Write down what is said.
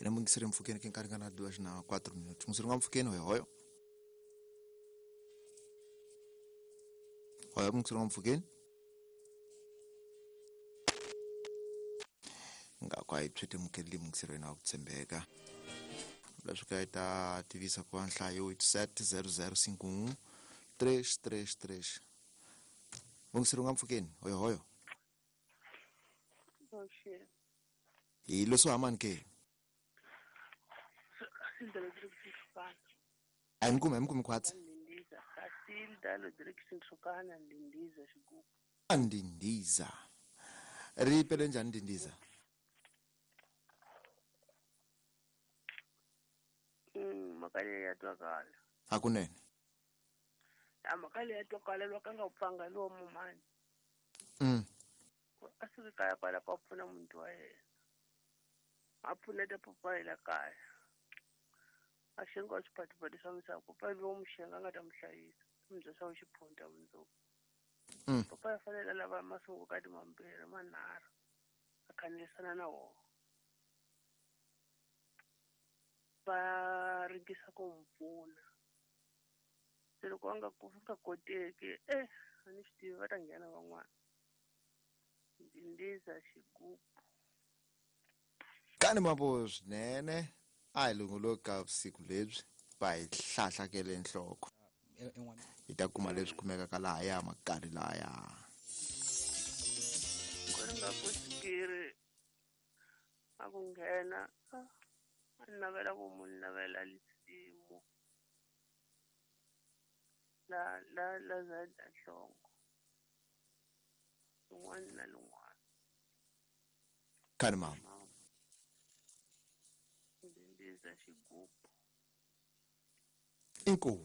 Ene mungisere mpfukeni ke nkarhi ngana 2 na 4 minutos. Mungisere mpfukeni hoyo hoyo. Hoyo mungisere mpfukeni. Ngakho ayiphethe mukeli mungisere na ukuthembeka. Leswi ta tivisa ku nhlayo 870051 333. Mungisere mpfukeni hoyo hoyo. Hi leswo hamani ke. Ayimkume khwatsi. Ndindiza. Ri pele njani ndindiza? Makale ya twakala. Hakunene. Ya makale ya twakala loko nga upfanga lowo mumani. Asuke kaya kwala ka pfuna muntu wa yena. A pfuneta papa la kaya. A xenga swiphatipati swa misava papa lowo muxenga a nga ta mu hlayisa. Mubya swa xiphunta mundzuku. Papa ya fanele lava masungukati mambirhi manharhu a khandziyisana na wona. Va ringisa ku n'wi pfuna. Se loko a nga nga koteki a ni swi tivi va ta nghena van'wana. Ndindiza xigubu. Kani mabo swinene a hi longoloka vusiku lebyi va hi hlahlakele nhloko. Hi ta kuma leswi kumekaka lahaya makari lahaya. Ku ri nga ku xikiri a ku nghena a navela ku munhu navela lisimu la la la za nhlongo lun'wana na lun'wana. Kani mama. Ndindiza xigubu. Inkomu.